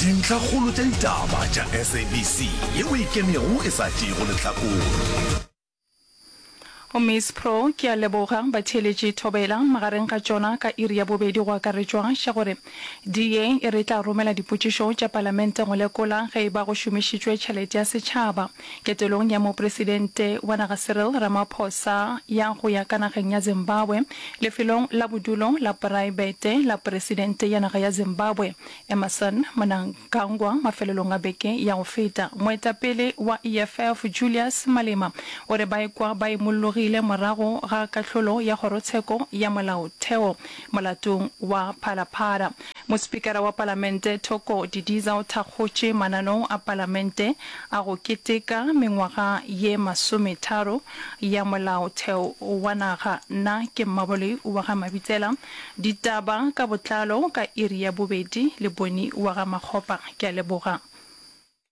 Dintlhakgolo tša ditaba tša SABC yeo e ikemego e sa tšeego lehlakore. Go Miss Pro, ke a leboga. Batheeletši Thobela, magareng ga tšona ka iri ya bobedi go akaretšwa xa gore DA e re e tla romela dipotšišo tša palamente go lekola ge e ba go šomišitšwe tšhelete ya setšhaba ketelong ya mopresidente wa naga Cyril Ramaphosa ya go ya ka nageng ya Zimbabwe lefelong la bodulo la poraebete la presidente ya naga ya Zimbabwe Emmerson Mnangagwa mafelelong a beke ya go feta. Moetapele wa EFF Julius Malema o re ba ikwa ba imollogile morago ga kahlolo ya kgorotsheko ya molaotheo molatong wa Phala Phala. Mospikara wa palamente Thoko Didiza o thakgotše mananeo a palamente a go keteka mengwaga ye masometharo ya molaotheo wa naga. Nna ke Mmaboloi wa ga Mabitsela. Ditaba ka botlalo ka iri ya bobedi le Boni wa ga Makgopa. Ke a leboga.